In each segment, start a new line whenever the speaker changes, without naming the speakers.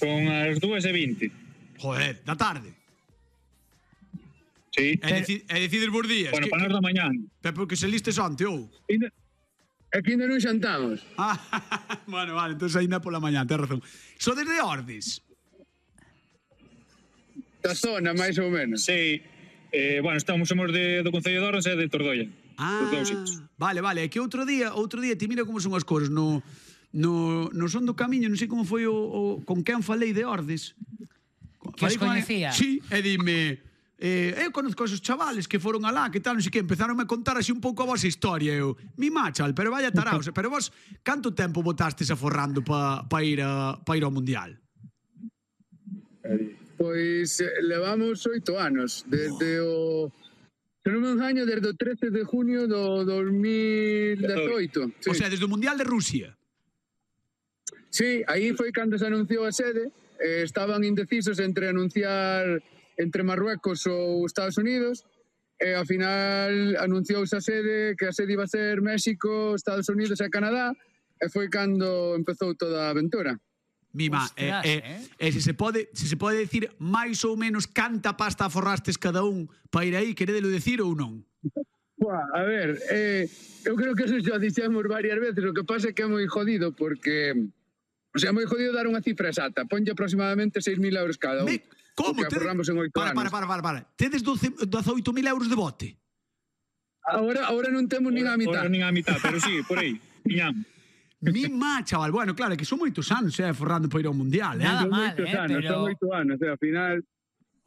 Son as 2:20.
Joder, da tarde.
Sí.
E decides vos días.
Bueno, para nós da mañán.
Pero porque se listes onte, ou?
É que ainda non xantamos.
Bueno, vale, entón ainda pola mañán, tens razón. So desde Ordes?
Da zona, máis ou menos.
Sí. Bueno, somos do Concello de Ordes e de Tordoia.
Vale, é que outro día, ti mira como son as cousas, no son do camiño, non sei como foi con quen falei de Ordes.
Que os coñecía.
Sí, e dime, eu conozco esos chavales que foron alá, que tal, non sei que, empezaron a contar así un pouco a vosa historia, eu, mi machal, pero vaya taraos, pero vos, canto tempo botastes aforrando pa ir ao Mundial?
Pois levamos 8 anos, desde o... Se non me engaño, desde o 13 de junio do 2018.
Sí. O sea, desde o Mundial de Rusia.
Sí, aí foi cando se anunciou a sede. Estaban indecisos entre anunciar entre Marruecos ou Estados Unidos, e ao final anunciouse a sede, que a sede iba a ser México, Estados Unidos e Canadá, e foi cando empezou toda a aventura.
Mima, se se pode decir máis ou menos canta pasta aforrastes cada un para ir aí, queredelo decir ou non?
A ver, eu creo que eso xa dixemos varias veces, o que pasa é que é moi jodido, porque... O sea, é moi jodido dar unha cifra exacta. Ponlle aproximadamente 6.000 euros cada un.
Como?
Que aforramos en 8 anos.
Para. Tedes 18.000 euros de bote?
Ahora non temos nin a mitad.
Ahora nin a mitad, pero sí, por aí. Piñamos.
Mima, chaval. Bueno, claro, que son moitos anos, forrando para ir ao Mundial,
Nada mal,
Son 8 anos, ao final...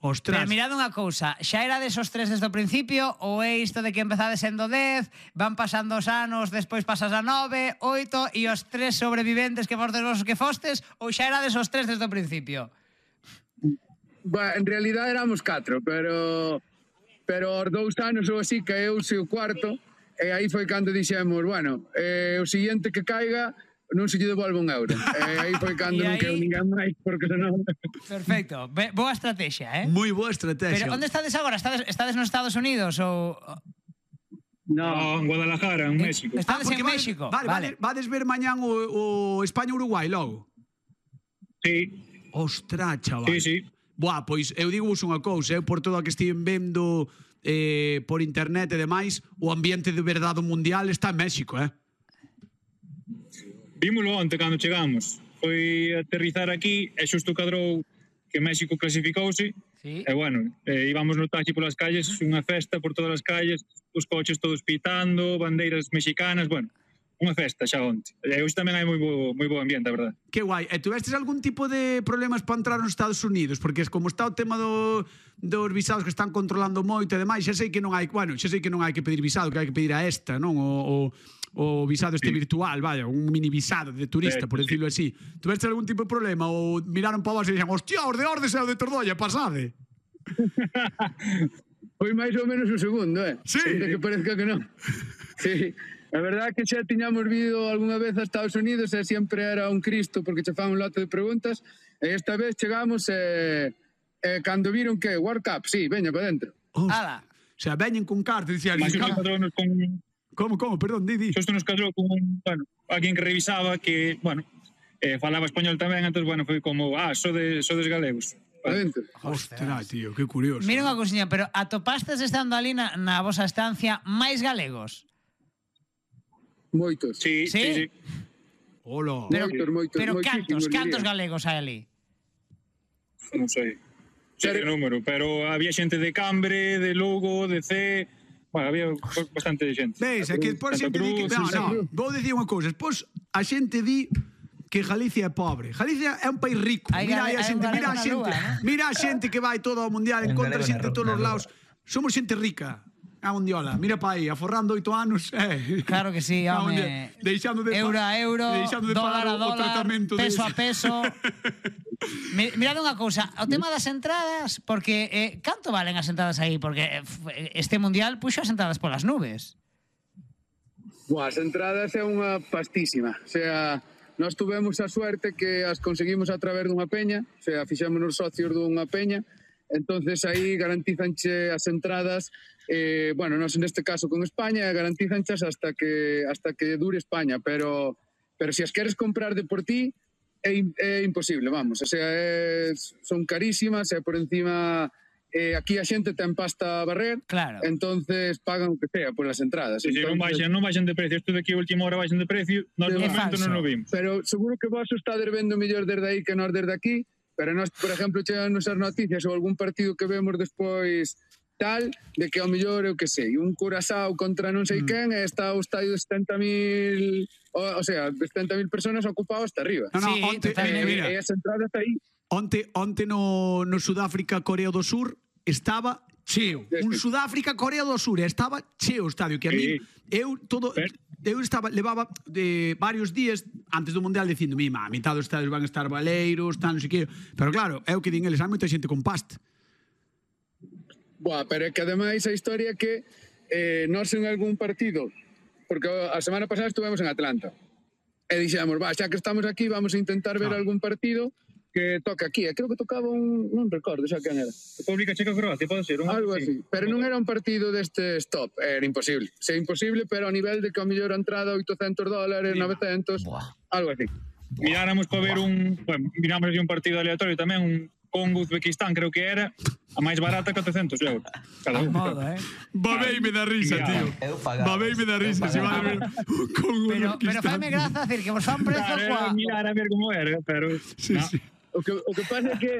Ostras.
Pero mirad unha cousa, xa era desos 3 desde o principio, ou é isto de que empezades sendo 10, van pasando os anos, despois pasas a 9, 8, e os 3 sobreviventes que fostes vos que fostes, ou xa era desos 3 desde o principio?
En realidad éramos 4, pero aos 2 anos ou así caeuse o cuarto, e aí foi cando dixemos, bueno, o siguiente que caiga non se lle devolve un euro. Aí foi cando non quedou ninguén máis, porque senón...
Perfecto, boa estrategia,
Moi boa estrategia.
Pero onde estades agora? Estades nos Estados Unidos ou...
No, en Guadalajara, en México.
Estades en México.
Vale. Vades ver mañán o España-Uruguai logo?
Sí.
Ostras, chaval.
Sí.
Buah, pois eu digo unha cousa, por todo o que estiven vendo por internet e demais, o ambiente de verdade mundial está en México,
Vímolo onte cando chegamos. Foi aterrizar aquí e xusto cadrou que México clasificouse.
Sí.
E bueno, íbamos no taxi polas calles, unha festa por todas as calles, os coches todos pitando, bandeiras mexicanas, bueno, unha festa xa onte. E hoxe tamén hai moi bo ambiente, a verdade.
Que guai. E tuvestes algún tipo de problemas para entrar nos Estados Unidos? Porque como está o tema dos visados que están controlando moito e demais, xa sei que non hai que pedir visado, que hai que pedir a esta, non? O visado virtual, vaya, un mini visado de turista, por decirlo así. Tuvestes algún tipo de problema ou miraron para vos e dixen, hostia, os de Ordes e o de Tordoia, pasade?
Foi máis ou menos o segundo,
Sí.
Ainda que parezca que non. Sí. A verdade é que xa tiñamos vido algunha vez a Estados Unidos e sempre era un Cristo porque che fan un lote de preguntas, e esta vez chegamos e cando viron que World Cup, sí, veña para dentro.
Ala.
O sea, veñen con carta e dicían... Como? Perdón, di.
Xusto nos cadrou con alguén que revisaba que, falaba español tamén, entón, foi como, sodes galegos.
Ostras, tío, que curioso.
Mira unha cousiña, pero atopastes estando ali na vosa estancia máis galegos?
Moitos.
Sí.
Hola.
Moitos.
Pero cantos galegos hai ali?
Non sei. Sei o número, pero había xente de Cambre, de Lugo, de C... Bueno, había bastante xente.
Veis, é que despois a xente di que... Non, vou dicir unha cousa. Despois a xente di que Galicia é pobre. Galicia é un país rico. Mira a xente que vai todo ao Mundial, encontra xente de todos os lados. Somos xente rica. A mundiola, mira pa aí, aforrando 8 anos.
Claro que sí, home. Euro a euro, dólar a dólar, peso a peso. Mirad unha cousa, o tema das entradas, porque canto valen as entradas aí? Porque este mundial puxo as entradas polas nubes.
As entradas é unha pastísima. O sea, nós tuvemos a suerte que as conseguimos a través dunha peña, o sea, fixémonos socios dunha peña, entonces aí garantizanche as entradas, nós neste caso con España garantizanchas hasta que dure España, pero se as queres comprar de por ti, é imposible, vamos. O sea, son carísimas e por encima... aquí a xente ten pasta a barrer, entonces pagan o que sea polas entradas.
Non baixan de precio, isto de aquí a última hora baixan de precio, nós no momento non o vimos.
Pero seguro que vos estades vendo mellor desde aí que nós desde aquí, pero nós, por exemplo, chegan nosas noticias ou algún partido que vemos despois tal, de que ao mellor, eu que sei, un Curazao contra non sei quen, e está o estadio de 70.000, o sea, de 70.000 personas ocupados hasta arriba.
Mira,
e as entradas aí.
Onte no Sudáfrica, Corea do Sur, estaba cheo. Un Sudáfrica, Corea do Sur, estaba cheo o estadio, que a mí, levaba varios días antes do Mundial dicindo, a mitad dos estadios van a estar baleiros, tal, non sei que, pero claro, é o que din eles, hai moita xente con pasta.
Pero é que ademais a historia que nós en algún partido, porque a semana pasada estuvemos en Atlanta, e dixemos, xa que estamos aquí, vamos a intentar ver algún partido que toca aquí, creo que tocaba non recordo xa quen era.
República Checa-Croacia, pode ser?
Algo así, pero non era un partido deste stop, era imposible. É imposible, pero a nivel de que a mellor a entrada $800, 900, algo así.
Miráramos para ver miramos así un partido aleatorio tamén, un Congo-Uzbequistán, creo que era, a máis barata que 800 euros. Cada un.
Babeime da risa, tío. Babeime da risa, se van a ver un Congo-Uzbequistán.
Pero faime graza decir que vos fan prezo
coa... Mirar a ver como era, pero...
O que pasa é que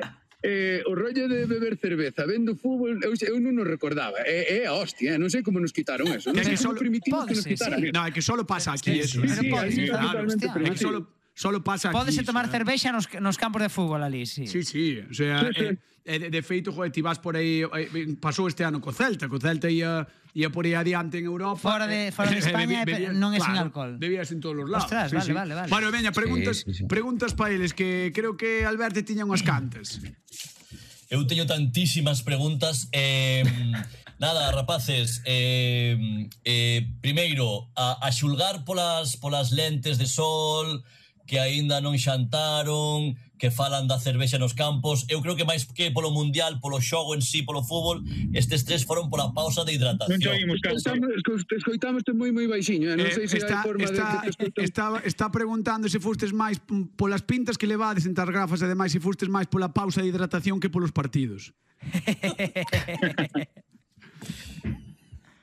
o rollo de beber cerveza vendo fútbol, eu non nos recordaba. É a hostia, non sei como nos quitaron eso. Non sei como primitivos que nos quitaran.
Non, é que solo pasa aquí eso. Solo pasa aquí.
Pódese tomar cervexa nos campos de fútbol ali, sí.
Sí, o sea, de feito, joder, ti vas por aí, pasou este ano co Celta ia por aí adiante en Europa.
Fora de España non é sin alcohol.
Debías en todos os lados.
Ostras, vale.
Bueno, veña, preguntas para eles, que creo que Alberto tiña unhas cantas.
Eu teño tantísimas preguntas. Nada, rapaces, primeiro, a xulgar polas lentes de sol, que aínda non xantaron, que falan da cervexa nos campos. Eu creo que máis que polo mundial, polo xogo en sí, polo fútbol, estes tres foron pola pausa de hidratación.
Escoitamos moi baixiño, non sei se hai forma de...
Está preguntando se fustes máis polas pintas que levades entre as gafas, e demais se fustes máis pola pausa de hidratación que polos partidos.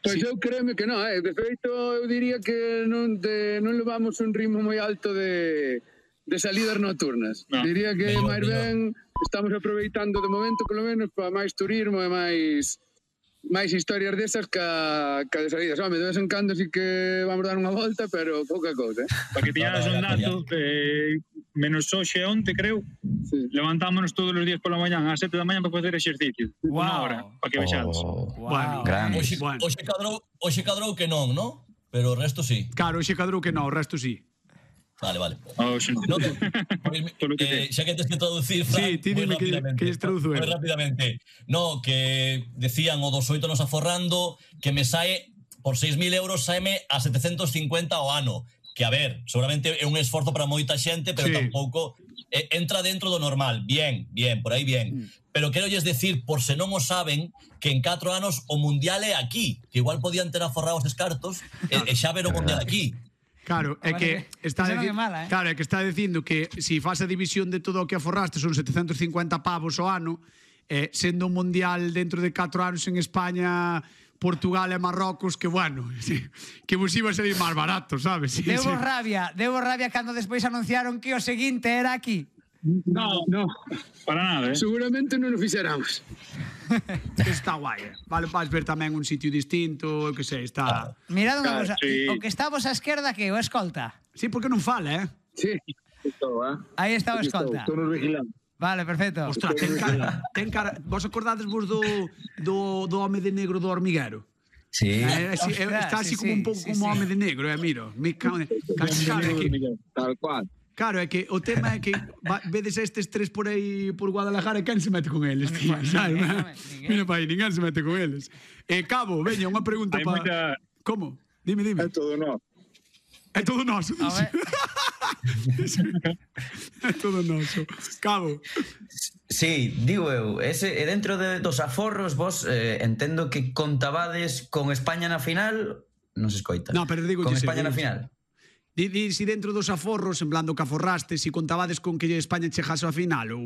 Pois eu créeme que non, de feito eu diría que non levamos un ritmo moi alto de salidas nocturnas. Diría que máis ben estamos aproveitando de momento, polo menos, para máis turismo e máis historias desas que de salidas. De vez en cando sí que vamos dar unha volta, pero pouca cousa.
Para que tiñas un dato, menos hoxe onte, creo, levantámonos todos os días pola mañán ás 7 da mañán para facer exercicio. Unha hora, para que vexades.
Hoxe cadrou que non, non? Pero o resto sí.
Claro, hoxe cadrou que non, o resto sí.
Vale. Xa que tens que traducir, Fran,
ti dime que lles traduzo
moi rapidamente. No, que decían o dos 8 nos aforrando, que me sae por 6.000 euros, saeme a 750 ao ano. Que, a ver, seguramente é un esforzo para moita xente, pero tampouco entra dentro do normal. Bien, por aí bien. Pero quero lles decir, por se non o saben, que en 4 anos o mundial é aquí. Que igual podían ter aforrado os escartos e xa ver o mundial aquí.
Claro, é que está dicindo que se faz a división de todo o que aforraste son 750 pavos ao ano, sendo un mundial dentro de 4 anos en España, Portugal e Marrocos, que bueno, que vos iba a salir máis barato, sabes?
Debo rabia cando despois anunciaron que o seguinte era aquí.
No,
para nada,
seguramente non o fixéramos.
Está guai, vale, vais ver tamén un sitio distinto, que sei, está...
Mirad unha cosa, o que está vos á esquerda, que o escolta?
Sí, porque non fala,
Sí, estou,
aí está o escolta.
Estou nos vigilando.
Vale, perfecto.
Ostras, ten cara... Vos acordades vos do home de negro do hormiguero?
Sí.
Está así como un pouco como home de negro, miro.
Tal cual.
Claro, é que o tema é que vedes estes tres por aí por Guadalajara e quen se mete con eles, tío, sabes? Mira pa aí, ninguén se mete con eles. Cabo, veña, unha pregunta para... Como? Dime.
É todo noso.
É todo noso. É todo noso. Cabo.
Sí, digo eu, dentro dos aforros vos entendo que contabades con España na final, non se escoita.
No, pero digo
con España na final.
Si dentro dos aforros, en plan do que aforraste, si contabades con que España chegase ao final ou